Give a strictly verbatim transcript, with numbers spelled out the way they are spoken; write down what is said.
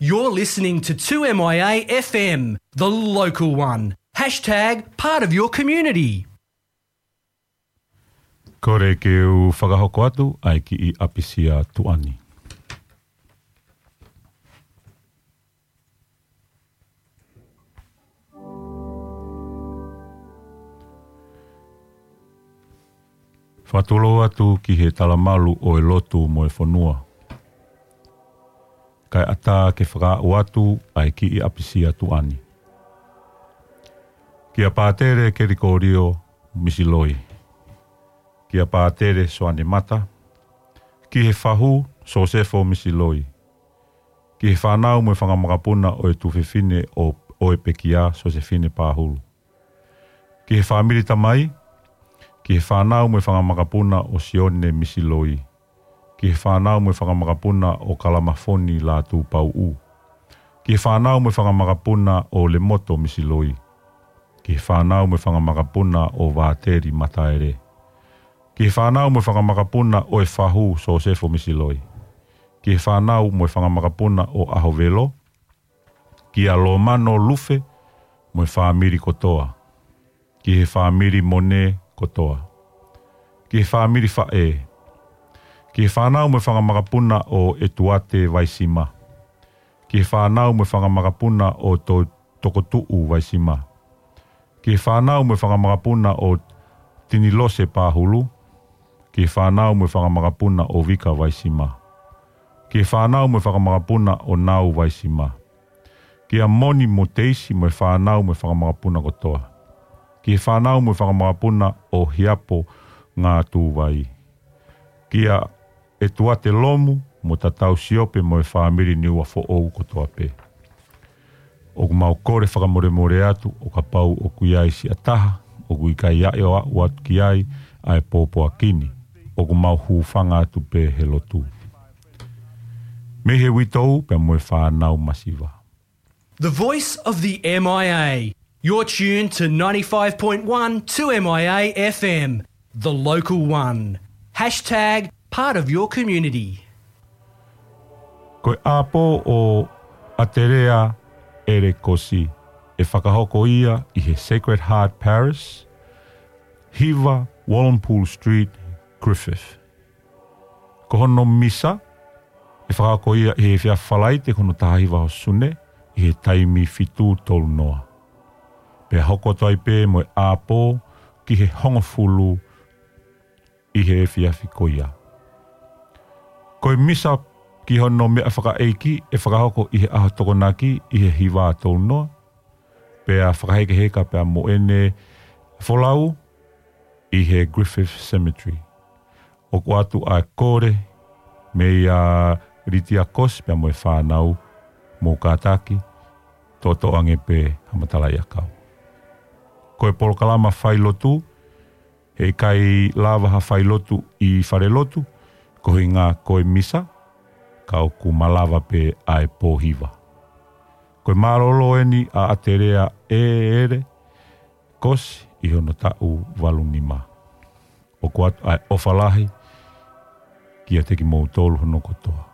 You're listening to two M I A F M, the local one. Hashtag part of your community. Kole ke u fakahoko atu ʻa e kiʻi ʻapisia tuʻa ni. Fakatulou atu ki he talamalu ʻo e lotu mo e fonua, kae ʻatā ke fakaaʻu atu ʻa e kiʻi ʻapisia tuʻa ni. Kia Pātele Kelikolio Misiloi. Kia Pātele Soane Mata. Ki he fahu Sosefo Misiloi. Ki he fānau mo e fanga makapuna ʻo e tuofefine ʻo, ʻo e pekia Sosefine Pahulu. Ki he fāmili tamai, ki he fānau mo e fanga makapuna ʻo Sione Misiloi. Ki he fānau mo e fanga makapuna ʻo Kalamafoni Lātūpauʻu. Ki he fānau mo e fanga makapuna ʻo Lemoto Misiloi. Ki he fānau mo e fanga makapuna ʻo Vāteli Mataele. Ki he fānau mo e fanga makapuna ʻo e fahu Sosefo Misiloi. Ki he fānau mo e fanga makapuna ʻo ʻAhovelo. Kia Lomano Lufe mo e fāmili kotoa. Ki he fāmili Mone kotoa. Ki he fāmili Faʻē. Ki he fānau mo e fanga makapuna ʻo ʻEtuate Vaisima. Ki he fānau mo e fanga makapuna ʻo To-, Tokotuʻu Vaisima. Ki he fānau mo e fanga makapuna ʻo Tinilose Pahulu. Ki he fānau mo e fanga makapuna ʻo Vika Vaisima. Ki he fānau mo e fanga makapuna ʻo Nau Vaisima. Kia Moni mo Teisi mo e fānau mo e fanga makapuna kotoa. Ki he fānau mo e fanga makapuna ʻo Hiapo Ngātūvai. Kia ʻEtuate Lomu mo Tatau Siope mo e fāmili Niuafoʻou kotoa pē. ʻOku mau kole fakamolemole atu ʻo kapau ʻoku ʻi ai siʻa taha ʻoku ʻikai ʻaʻe ʻo aʻu atu ki ai ʻa e pōpoaki ni, ʻoku mau hūfanga atu pē he lotu. Mei he uitou pea mo e fānau masiva. The voice of the M I A. You're tuned to ninety-five point one two M I A F M, the local one. Hashtag part of your community. Ko e ʻapo ʻo ʻAtelea ʻEle Kosi, ʻe fakahoko ia ʻi he Sacred Heart Parish, hiva Wallenpool Street, Griffith. Ko hono misa, ʻe fakahoko ia ʻi he efiafi Falaite ko hono taha hiva ʻo Sune, ʻi he taimi fitu tolu noa. Pea hoko atu ai pē mo e ʻapo ki he hongofulu ʻi he efiafi ko ia. Ko e misa ki hono meʻa fakaʻeiki ʻe fakahoko ʻi he ʻaho Tokonaki ʻi he hiva tolu noa. Pea fakahekeheka pea mo ʻene folau ʻi he Griffith Cemetery. ʻOku ʻoatu ʻa e kole meia Litia Kosi pea mo e fānau, mou kātaki, toʻotoʻo ange pē ha matalaʻiʻakau. Ko e polokalama failotu, heʻikai lava ha failotu ʻi falelotu, koeʻuhinga ko e misa, ka ʻoku malava pē ʻa e pōhiva. Ko e mālōlō eni ʻa ʻAtelea ʻEle Kosi ʻi hono taʻu valu nima. ʻOku ʻoatu ʻa e ʻofa lahi kiate kimoutolu hono kotoa.